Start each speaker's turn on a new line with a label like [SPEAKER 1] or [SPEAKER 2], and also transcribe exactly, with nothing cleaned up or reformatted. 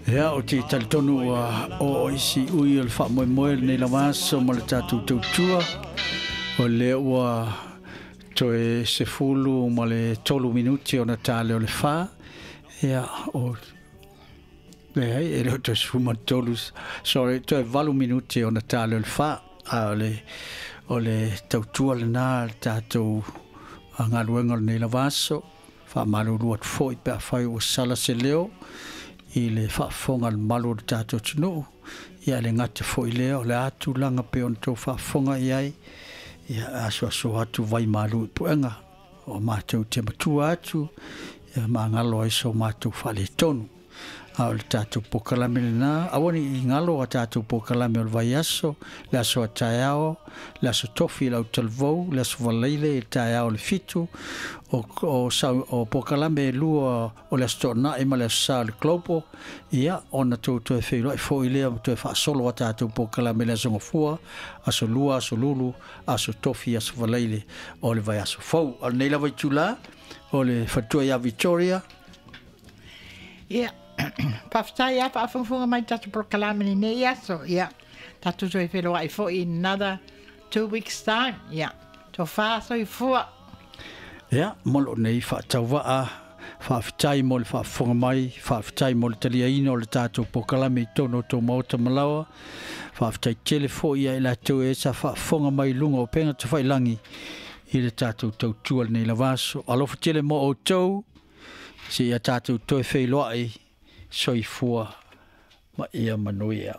[SPEAKER 1] Ia, o te talitonu ua oo i siui o le faamoemoe lenei lava aso ma le tatou tautua. O lea ua toe sefulu ma le tolu minuti ona ta lea o le fa. Ia, o leai, e le o toe sefulu ma le tolu, sorry, toe valu minuti ona ta lea o le fa. A o le, o le tautua lena le tatou galuega o lenei lava aso. Faamalulu atu foi pe afai ua sala se leo i le faafofoga a le mamalu o le tatou atunuu. Ia, le gata foi lea o le a tulaga pe ona tou faafofoga i ai. Ia, asuasu atu vai malu i puega o matou te matua atu, ia magalo ai so matou faaletonu. A o le tatou polokalame lena, aua ne i galo a tatou polokalame o le vaiaso, le aso a taeao, le aso Tofi i le autalavou, le aso Faraile i le taeao i le fitu, o, o, o polokalame e lua o le aso Toonai ma le aso Sa o le Global, ia, ona tou toe feiloai foi lea ma toe faasolo a tatou polokalame i le aso Gafua, aso Lua, aso Lulu, aso Tofi, aso Faraile o le vaiaso fou. A o lenei lava itula, o le faletua ia Victoria.
[SPEAKER 2] Ia, faafetai lava faafogafoga mai tatou polokalame lenei aso. Ia, tatou toe feiloai foi in another two weeks time. Ia, tofa soifua.
[SPEAKER 1] Ia, mo lou nei faatauvaa, faafetai mo le faafofoga mai, faafetai mo le taliaina o le tatou polokalame i totonu o tou maota ma laoa. Faafetai tele foi ia i latou e sa faafofoga mai i luga o upega tafailagi i le tatou tautua lenei lava aso. Alofa tele mo outou, seia tatou toe feiloai, soifua ma ia manuia.